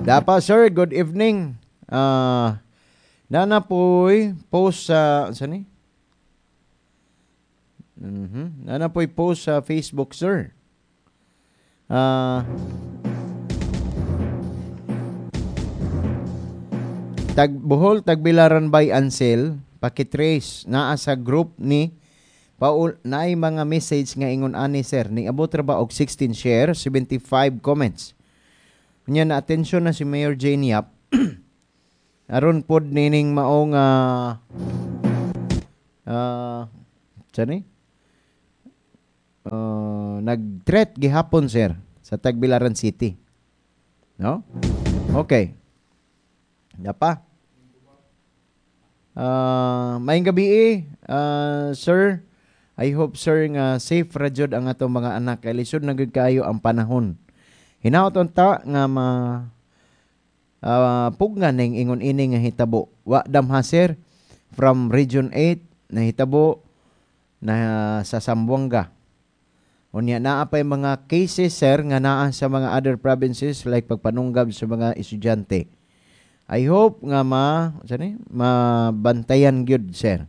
Dapa, sir, good evening. Nana po'y post sa saan ni? Nana po'y post sa Facebook, sir. Tag Bohol, Tagbilaran by Ansel, pakitrace naa sa group ni Paul naay mga message nga ingon ani, sir, ni abot ra ba og 16 share, 75 comments. Unya na atensyon na si Mayor Jane Yap aron pod nining mao nga ni nag-threat gihapon, sir, sa Tagbilaran City. No? Okay. Dapa. Maayong gabi sir. I hope, sir, nga safe ra jud ang atong mga anak kay lisod na gyud kaayo ang panahon. Hinaot unta nga ma pugnan ning ingon ini nga hitabo. Wa damha, sir, from Region 8 nahitabo na sa Zamboanga. Unya naa pay mga cases, sir, nga naa sa mga other provinces like pagpanunggab sa mga estudyante. I hope nga ma sa ni mabantayan gyud, sir.